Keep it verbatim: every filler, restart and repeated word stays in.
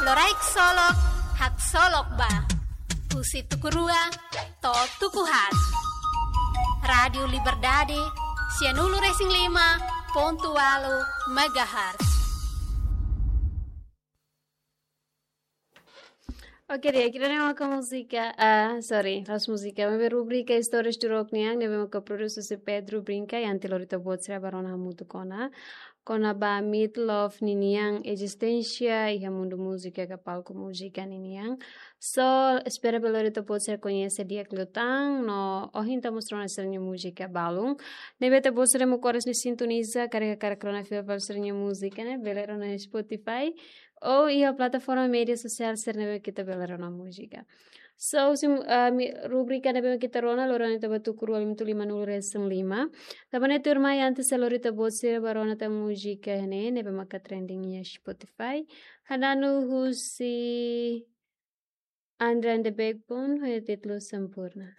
Loraik solok, haksolok ba. Husi tuku rua to'o tuku haat. Rádiu Liberdade, sianulu-resin-lima pontu ualu megahertz. Oke, di'ak, ida-ne'e mak múzika, ah, sorry, la'ós múzika, maibé rubrika Istórias Durok nian, ne'ebé maka produs husi Pedro Brinca, i entaun lori ita-boot sira bá rona hamutuk ona, kona-ba Meat Loaf ninian ezisténsia iha mundu múzika ka palku múzika ninian. So, espera bele lori ita-boot sira koñese di'ak liután, no ohin ita mós rona sira-nia múzika balun. Ne'ebé ita-boot sira mak oras ne'e sintoniza, karik hakarak rona fila fali sira-nia múzika ne'e, bele rona iha Spotify, ou iha plataforma média sosiál sira ne'ebé ita bele rona múzika. So, husi, ah, mi-, rubrika ne'ebé ita rona, loron ita bá tuku rua lima nulu resin lima. Tanba ne'e tuirmai, antes de lori ita-boot sira bá rona tan múzika ne'e, ne'ebé maka trending iha Spotify. Hada'anu husi Andre and the Backbone, ho títulu Sempurna.